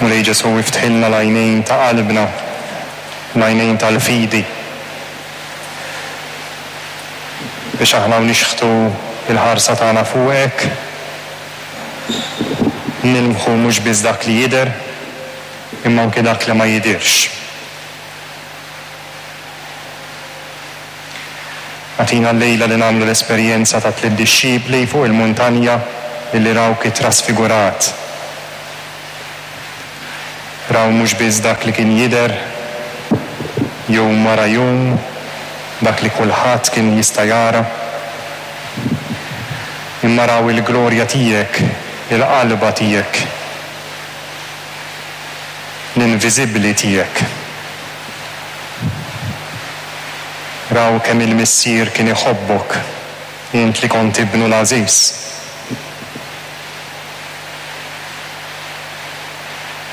Mulej Ġesù iftħilna l-għajnejn ta' qalbna, l-għajnejn tal-fidi, biex aħna u nixħtu l-ħarsa tagħna fuqek, nilmħu mhux biss dak li jidher, imma anki dak li ma jidhirx. Agħtina llejla li nagħmlu l-esperjenza tat-tliet dixxipli fuq il-muntanja illi rawk ittrasfigurat. Raw mhux biss dak li kien jidher jum wara jum, dak li kulħadd kien jista' jara, imma raw il-glorja tiegħek, il-qalba tiegħek, l-inviżibbli tiegħek. Raw kemm il-Missier kien iħobbok, int li kont ibnu l-għażiż.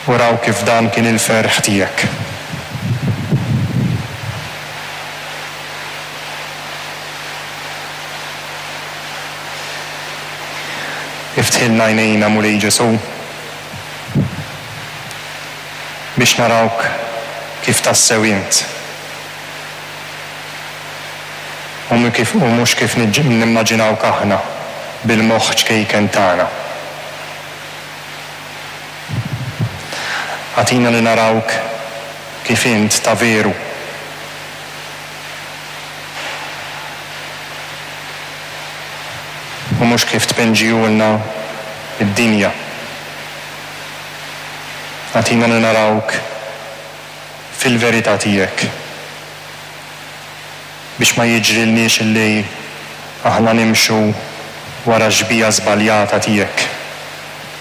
U raw kif dan kien il-ferħ tiegħek. Iftħilna għajnejna, Mulej Ġesù. Biex narawk kif tassew int. U u mhux kif nimmaġinawk aħna bil-moħħ ċkejken tagħna. Agħtina li narawk kif int ta' veru. U mhux kif tpinġihulna d-dinja. Agħtina li narawk fil-verità tiegħek, biex ma jiġrilniex illi aħna nimxu wara x-xbieha żbaljata tiegħek.